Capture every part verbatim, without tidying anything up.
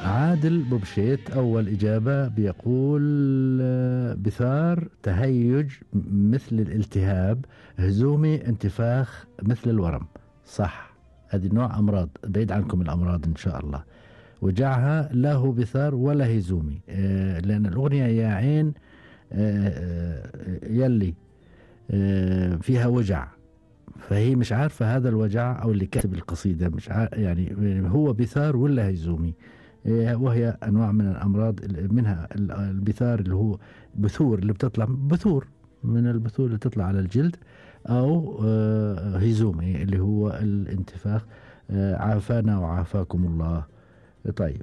عادل بوبشيت أول إجابة بيقول بثار تهيج مثل الالتهاب، هزومي انتفاخ مثل الورم. صح، هذه نوع أمراض، بعيد عنكم الأمراض إن شاء الله. وجعها لا هو بثار ولا هزومي، آه لأن الأغنية يا عين آه يلي آه فيها وجع، فهي مش عارفة هذا الوجع أو اللي كاتب القصيدة مش عارف يعني هو بثار ولا هزومي. وهي أنواع من الأمراض، منها البثار اللي هو بثور اللي بتطلع بثور من البثور اللي تطلع على الجلد، أو هزومي اللي هو الانتفاخ. عافانا وعافاكم الله. طيب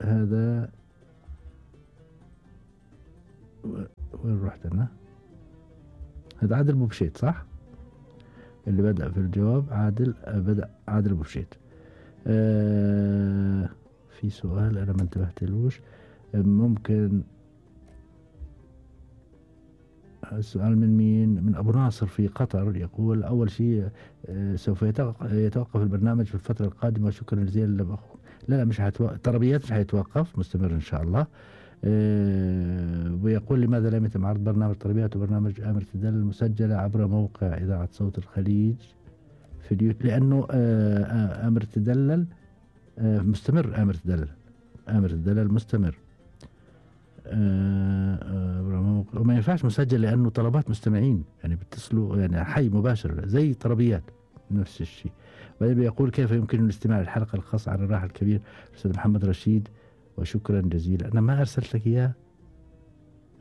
هذا وين رحت أنا؟ هذا عادل بوبشيت صح؟ اللي بدأ في الجواب عادل بدأ عادل بوبشيت. آه في سؤال أنا ما انتبهتلوش، ممكن السؤال من مين؟ من أبو ناصر في قطر، يقول أول شيء آه سوف يتوقف البرنامج في الفترة القادمة، شكرا جزيلا لأخوك. لا لا مش هيتوقف، طربيات مش هيتوقف، مستمر إن شاء الله. آه ويقول لماذا لم يتم عرض برنامج طربيات وبرنامج آمر تدل المسجلة عبر موقع إذاعة صوت الخليج في اليوتيوب، لأنه آه آمر تدلل آه مستمر، آمر تدلل آمر تدلل مستمر. آه آه وما ينفعش مسجل لأنه طلبات مستمعين، يعني بيتصلوا يعني حي مباشر زي طربيات نفس الشيء. وبعدين يقول كيف يمكن الاستماع للحلقة الخاصة عن الراحل الكبير الأستاذ محمد رشيد، وشكرا جزيلا. أنا ما أرسلت لك إياه،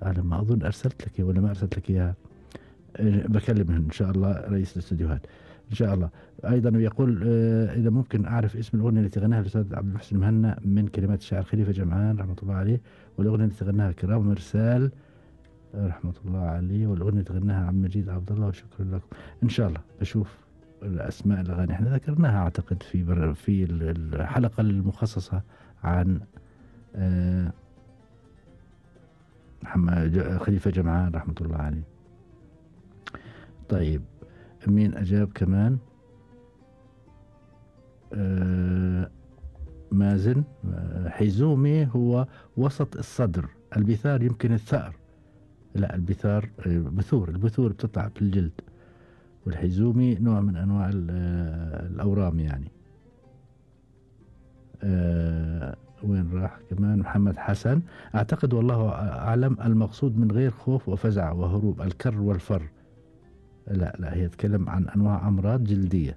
على ما أظن أرسلت لك ولا ما أرسلت لك إياها. آه بكلم إن شاء الله رئيس الاستديوهات إن شاء الله. أيضا يقول آه إذا ممكن أعرف اسم الأغنية التي غناها الأستاذ عبد المحسن مهنا من كلمات الشاعر خليفة جمعان رحمة الله عليه، والأغنية التي غناها كرام مرسال رحمة الله عليه، والأغنية التي غناها عبد المجيد عبد الله، وشكرا لكم. إن شاء الله بشوف الأسماء الأغاني، احنا ذكرناها أعتقد في في الحلقة المخصصة عن آه محمد خليفة جمعان رحمة الله عليه. طيب مين أجاب كمان؟ آه مازن. آه حيزومي هو وسط الصدر، البثار يمكن الثأر، لا البثار آه بثور، البثور بتطلع في الجلد، والحيزومي نوع من أنواع آه الأورام يعني. آه وين راح كمان؟ محمد حسن، أعتقد والله أعلم المقصود من غير خوف وفزع وهروب الكر والفر. لا لا هي تتكلم عن أنواع أمراض جلدية.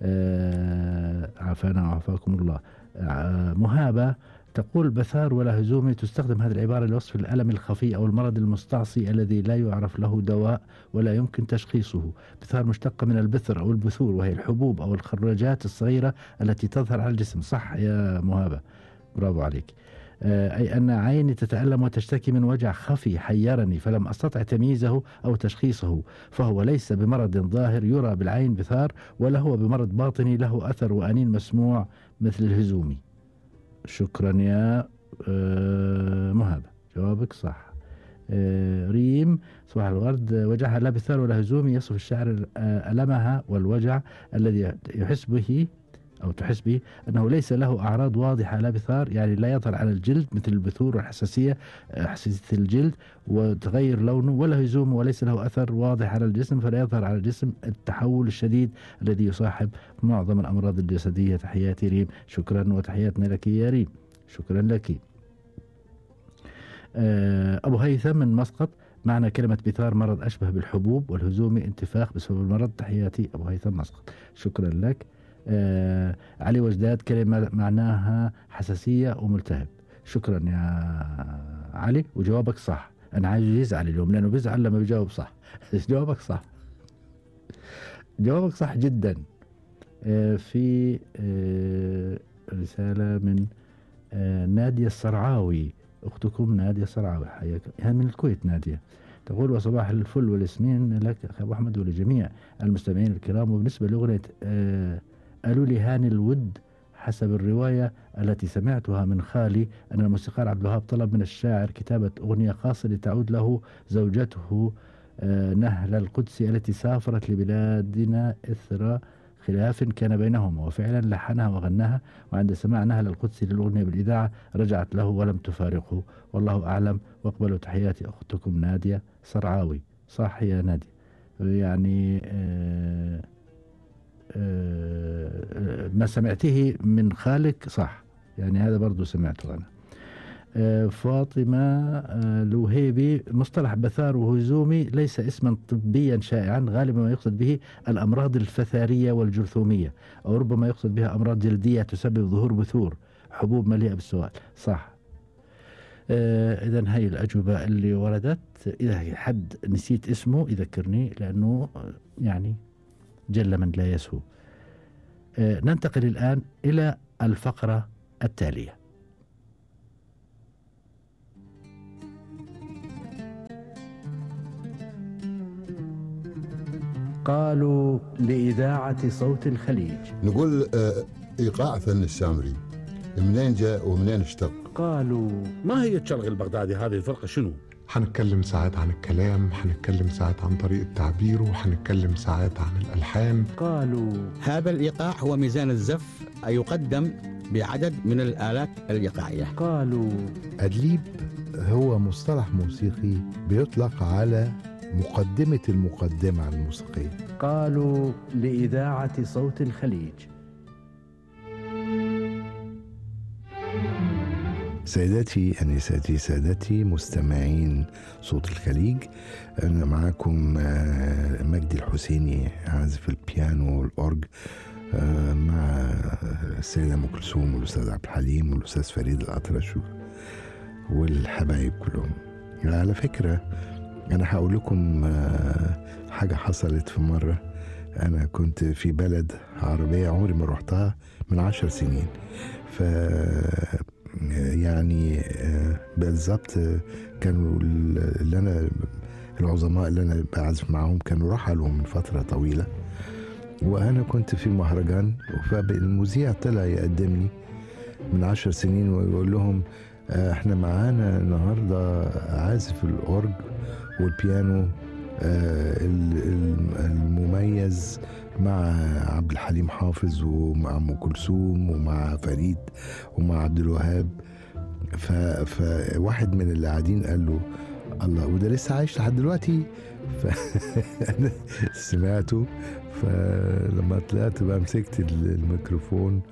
آه عافانا وعافاكم الله. آه مهابة تقول بثار ولا هزومي، تستخدم هذه العبارة لوصف الألم الخفي أو المرض المستعصي الذي لا يعرف له دواء ولا يمكن تشخيصه. بثار مشتقة من البثر أو البثور، وهي الحبوب أو الخراجات الصغيرة التي تظهر على الجسم. صح يا مهابة، برافو عليك. أي أن عيني تتألم وتشتكي من وجع خفي حيرني فلم أستطع تمييزه أو تشخيصه، فهو ليس بمرض ظاهر يرى بالعين بثار، ولا هو بمرض باطني له أثر وأنين مسموع مثل الهزومي. شكرا يا مهابة، جوابك صح. ريم صباح الورد، وجعها لا بثار ولا هزومي، يصف الشاعر ألمها والوجع الذي يحس به أو تحس به أنه ليس له أعراض واضحة، لا بثار يعني لا يظهر على الجلد مثل البثور والحساسية حساسية الجلد وتغير لونه، ولا هزوم وليس له أثر واضح على الجسم فلا يظهر على الجسم التحول الشديد الذي يصاحب معظم الأمراض الجسدية. تحياتي ريم، شكرا وتحياتنا لك يا ريم، شكرا لك. أبو هيثم من مسقط، معنى كلمة بثار مرض أشبه بالحبوب، والهزومي انتفاخ بسبب المرض. تحياتي أبو هيثم مسقط، شكرا لك. آه علي وجداد، كلمة معناها حساسية وملتهب. شكرا يا علي، وجوابك صح. أنا عايز يزعل اليوم لأنه بيزعل لما بيجاوب صح. جوابك صح، جوابك صح جدا. آه في آه رسالة من آه نادية الصرعاوي، أختكم نادية الصرعاوي، حياك، من الكويت نادية. تقول وصباح الفل والياسمين لك أخي أبو أحمد ولجميع المستمعين الكرام. وبالنسبة لأغنية آه قالوا لي هاني الود، حسب الرواية التي سمعتها من خالي أن الموسيقار عبد الوهاب طلب من الشاعر كتابة أغنية خاصة لتعود له زوجته آه نهلة القدسي التي سافرت لبلادنا إثر خلاف كان بينهما، وفعلا لحنها وغناها، وعند سماع نهل القدسي للأغنية بالإذاعة رجعت له ولم تفارقه، والله أعلم. واقبلوا تحياتي أختكم نادية صرعاوي. صح يا نادية، يعني آه آه ما سمعته من خالك صح، يعني هذا برضو سمعته أنا. آه فاطمة آه الوهيبي: مصطلح بثار وهزومي ليس اسما طبيا شائعا، غالبا ما يقصد به الأمراض الفثارية والجرثومية، أو ربما يقصد بها أمراض جلدية تسبب ظهور بثور حبوب مليئة بالسواد. صح. آه إذا هاي الأجوبة اللي وردت، إذا حد نسيت اسمه يذكرني، لأنه يعني جل من لا يسهو. آه ننتقل الآن إلى الفقرة التالية. قالوا لإذاعة صوت الخليج. نقول آه إيقاع فن السامري منين جاء ومنين اشتق؟ قالوا ما هي الشرق البغدادي هذه الفرقة شنو؟ حنتكلم ساعات عن الكلام، حنتكلم ساعات عن طريقة تعبيره، وحنتكلم ساعات عن الألحان. قالوا هذا الإيقاع هو ميزان الزف يقدم بعدد من الآلات الإيقاعية. قالوا أدليب هو مصطلح موسيقي بيطلق على مقدمة المقدمة الموسيقية. قالوا لإذاعة صوت الخليج. سيداتي أنساتي سادتي مستمعين صوت الخليج، أنا معاكم مجدي الحسيني عازف البيانو والأورج، مع السيدة أم كلثوم والأستاذ عبد الحليم والأستاذ فريد الأطرش والحبايب كلهم. على فكرة أنا هقول لكم حاجة حصلت في مرة. أنا كنت في بلد عربية عمري ما رحتها من عشر سنين، ف يعني بالضبط كانوا اللي أنا العظماء اللي أنا بعزف معهم كانوا رحلوا من فترة طويلة، وأنا كنت في مهرجان، فالمذيع طلع يقدمني من عشر سنين ويقول لهم احنا معانا النهاردة عازف الأورج والبيانو المميز مع عبد الحليم حافظ ومع أم كلثوم ومع فريد ومع عبد الوهاب. فواحد من اللي قاعدين قال له الله، وده لسه عايش لحد دلوقتي. فأنا سمعته، فلما طلعت بقى مسكت الميكروفون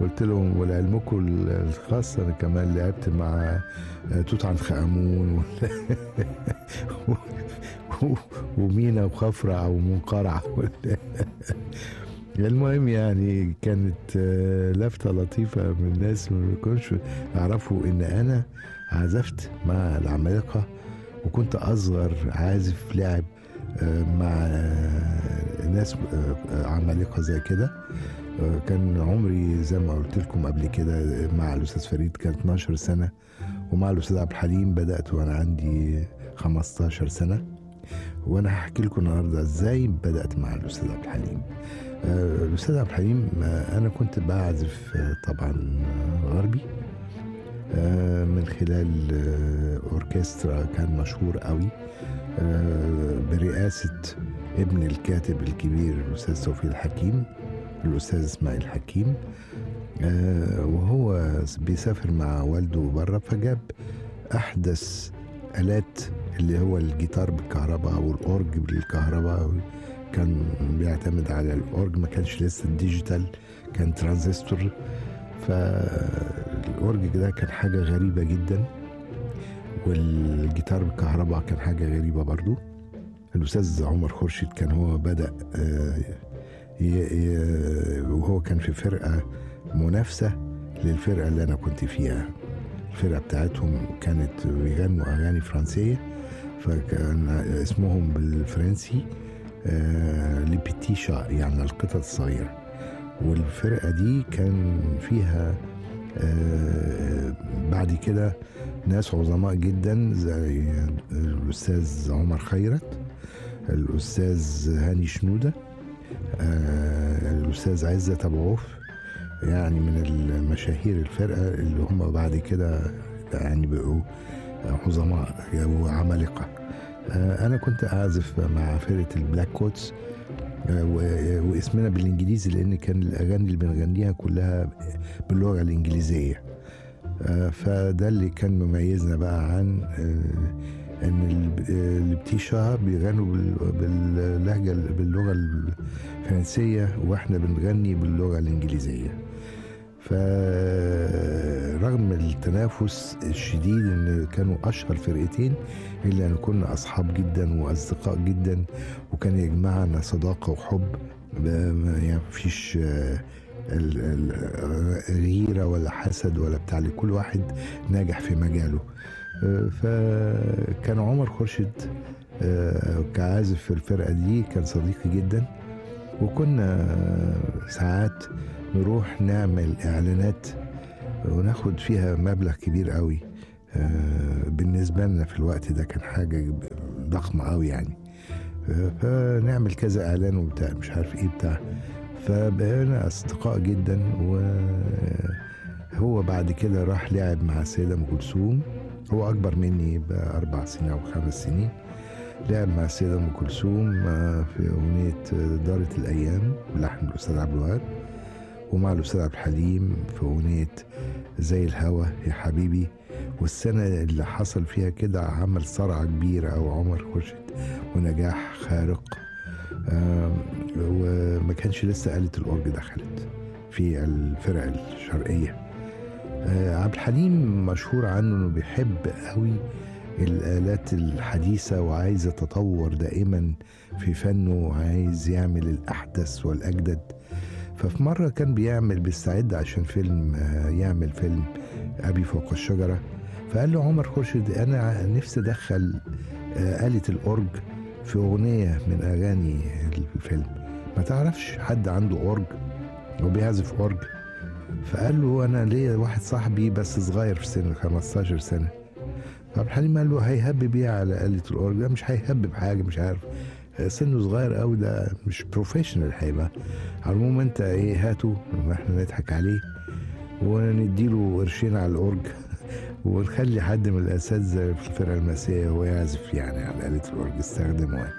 قلت لهم ولعلمكم الخاص أنا كمان لعبت مع توت عنخ آمون ومينا وخفرع ومنقرع. المهم يعني كانت لفتة لطيفة من الناس ما يكونش يعرفوا إن أنا عزفت مع العمالقة، وكنت أصغر عازف لعب مع ناس عمالقة زي كده. كان عمري زي ما قلت لكم قبل كده مع الأستاذ فريد كانت اتناشر سنة، ومع الأستاذ عبد الحليم بدأت وأنا عندي خمستاشر سنة. وأنا هحكي لكم النهاردة إزاي بدأت مع الأستاذ عبد الحليم. الأستاذ عبد الحليم أنا كنت بعزف طبعا غربي من خلال أوركسترا كان مشهور قوي برئاسة ابن الكاتب الكبير الأستاذ توفيق الحكيم، الأستاذ إسماعيل الحكيم، وهو بيسافر مع والده برا، فجاب أحدث آلات اللي هو الجيتار بالكهرباء والأورج بالكهرباء. كان بيعتمد على الأورج، ما كانش لسه الديجيتال، كان ترانزستور. فالأورج ده كان حاجة غريبة جدا، والجيتار بالكهرباء كان حاجة غريبة برضو. الأستاذ عمر خورشيد كان هو بدأ وهو كان في فرقة منافسة للفرقة اللي أنا كنت فيها. الفرقة بتاعتهم كانت بيغنوا أغاني فرنسية، فكان اسمهم بالفرنسي لبيتيشا، يعني القطط الصغيرة. والفرقة دي كان فيها بعد كده ناس عظماء جدا زي الأستاذ عمر خيرت، الأستاذ هاني شنودة، الأستاذ عزت أبو عوف، يعني من المشاهير الفرقة اللي هم بعد كده يعني بقوا عظماء وعمالقة. أنا كنت أعزف مع فرقة البلاك كوتس، واسمنا بالانجليزي لان كان الاغاني اللي بنغنيها كلها باللغه الانجليزيه. فده اللي كان مميزنا بقى عن ان البتيشة بيغنوا باللهجه باللغه الفرنسيه واحنا بنغني باللغه الانجليزيه. فرغم التنافس الشديد ان كانوا اشهر فرقتين الا ان كنا اصحاب جدا واصدقاء جدا، وكان يجمعنا صداقه وحب، يعني مفيش غيره ولا حسد ولا بتاع، كل واحد ناجح في مجاله. فكان عمر خورشيد كعازف في الفرقه دي كان صديقي جدا، وكنا ساعات نروح نعمل اعلانات وناخد فيها مبلغ كبير قوي. بالنسبه لنا في الوقت ده كان حاجه ضخمه قوي يعني. فنعمل كذا اعلان وبتاع مش عارف ايه بتاع، فبقينا اصدقاء جدا. وهو بعد كده راح لعب مع السيده ام كلثوم، هو اكبر مني باربع سنين او خمس سنين. لعب مع السيده ام كلثوم في اغنيه دارت الايام بلحن الاستاذ عبد الوهاب، ومع الاستاذ عبد الحليم في اغنيه زي الهوى يا حبيبي. والسنه اللي حصل فيها كده عمل صرعه كبيره او عمر خورشيد ونجاح خارق. وما كانش لسه آلة الأورج دخلت في الفرق الشرقية. عبد الحليم مشهور عنه انه بيحب قوي الآلات الحديثة وعايز يتطور دائما في فنه وعايز يعمل الأحدث والأجدد. ففي مرة كان بيعمل بيستعد عشان فيلم، يعمل فيلم أبي فوق الشجرة، فقال له عمر خورشيد أنا نفسي أدخل آلة الأورج في أغنية من أغاني الفيلم، ما تعرفش حد عنده أورج وبيعزف أورج؟ فقال له أنا ليا واحد صاحبي بس صغير في سنه خمستاشر سنة. فعبد الحليم قال له هيهبب ايه على آلة الأورج؟ ده مش هيهبب حاجة، مش عارف سنه صغير قوي، ده مش بروفيشنال هيبقى. على العموم انت ايه هاته واحنا نضحك عليه ونديله قرشين على الأورج ونخلي حد من الاساتذه في الفرقه المسيحيه هو يعزف يعني على آلة الأورج استخدموها.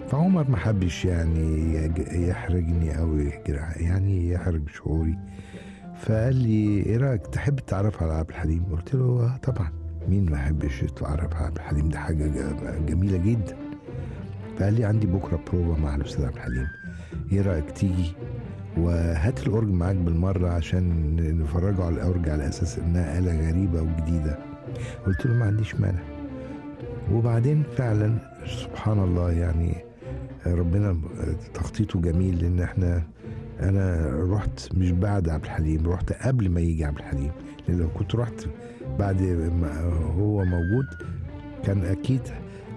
فعمر ما حبش يعني يحرجني او يعني يحرج شعوري، فقال لي ايه رايك تحب تتعرف على عبد الحليم؟ قلت له اه طبعا، مين ما يحبش يتعرف على عبد الحليم، ده حاجه جميله جدا. فقال لي عندي بكره بروفا مع الاستاذ عبد الحليم، ايه رايك تيجي وهات الأورج معاك بالمرة عشان نفرجه على الأورج على أساس إنها آلة غريبة وجديدة. قلت له ما عنديش مانع. وبعدين فعلا سبحان الله يعني ربنا تخطيطه جميل، لأن احنا أنا رحت مش بعد عبد الحليم، رحت قبل ما يجي عبد الحليم، لأن لو كنت رحت بعد ما هو موجود كان أكيد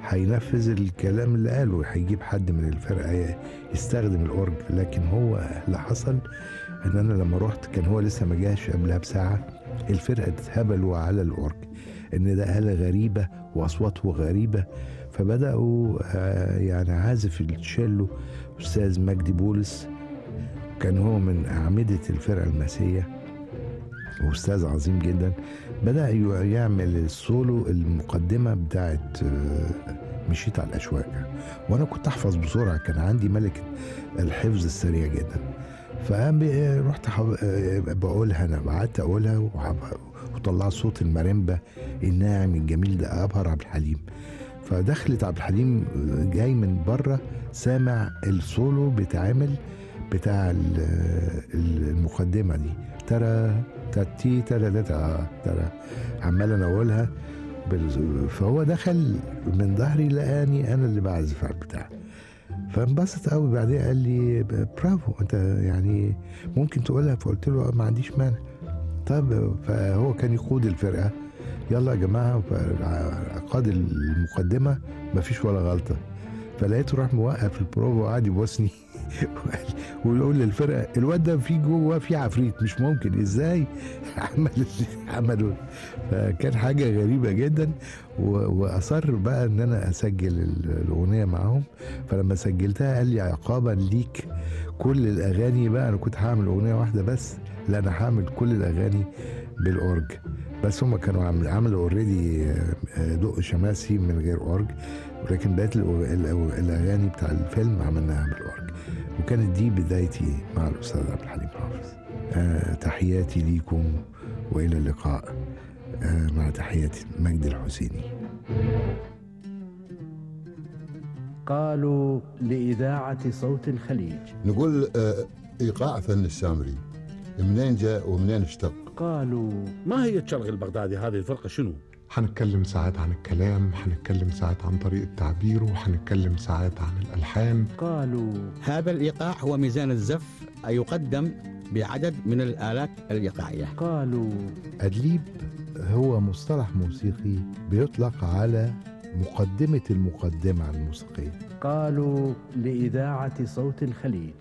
هينفذ الكلام اللي قاله، هيجيب حد من الفرقة يستخدم الأورج. لكن هو اللي حصل ان انا لما رحت كان هو لسه ما جاش قبلها بساعة، الفرقة اتهبلوا على الأورج ان ده آلة غريبة واصواته غريبة. فبدأوا يعني عازف التشيلو أستاذ مجدي بولس، كان هو من أعمدة الفرقة المسيحية وأستاذ عظيم جدا، بدأ يعمل السولو المقدمة بتاعت مشيت على الأشواك، وأنا كنت أحفظ بسرعة، كان عندي ملكة الحفظ السريع جدا. فرحت بقولها، أنا قعدت أقولها وطلع صوت الماريمبا الناعم الجميل ده، أبهر عبد الحليم. فدخلت عبد الحليم جاي من بره سامع السولو بتعمل بتاع المقدمة دي، ترى تاتي ترى ترى عمال انا اقولها. فهو دخل من ظهري لقاني انا اللي بعزف على البتاع، فانبسط قوي. بعدين قال لي برافو انت يعني ممكن تقولها، فقلت له ما عنديش مانع. طب فهو كان يقود الفرقه، يلا يا جماعه، قاد المقدمه ما فيش ولا غلطه. فلقيته راح موقف البروفا وقعد يبوسني ويقول للفرقه الواد ده في جوه في عفريت، مش ممكن ازاي عمل عملوا. فكان حاجه غريبه جدا، واصر بقى ان انا اسجل الاغنيه معاهم. فلما سجلتها قال لي عقابا ليك كل الاغاني بقى، انا كنت هعمل اغنيه واحده بس، لا انا هعمل كل الاغاني بالاورج. بس هم كانوا عملوا اوريدي دق شماسي من غير اورج، ولكن بقيت الاغاني بتاع الفيلم عملناها بالاورج. وكانت دي بدايتي مع الأستاذ عبد الحليم حافظ. آه تحياتي ليكم وإلى اللقاء. آه مع تحياتي مجدي الحسيني. قالوا لإذاعة صوت الخليج. نقول آه، إيقاع فن السامري منين جاء ومنين اشتق؟ قالوا ماهية شرق البغدادي هذه الفرقة شنو؟ هنتكلم ساعات عن الكلام، هنتكلم ساعات عن طريقة تعبيره، وهنتكلم ساعات عن الألحان. قالوا هذا الإيقاع هو ميزان الزف يقدم بعدد من الآلات الإيقاعية. قالوا أدليب هو مصطلح موسيقي بيطلق على مقدمة المقدمة الموسيقية. قالوا لإذاعة صوت الخليج.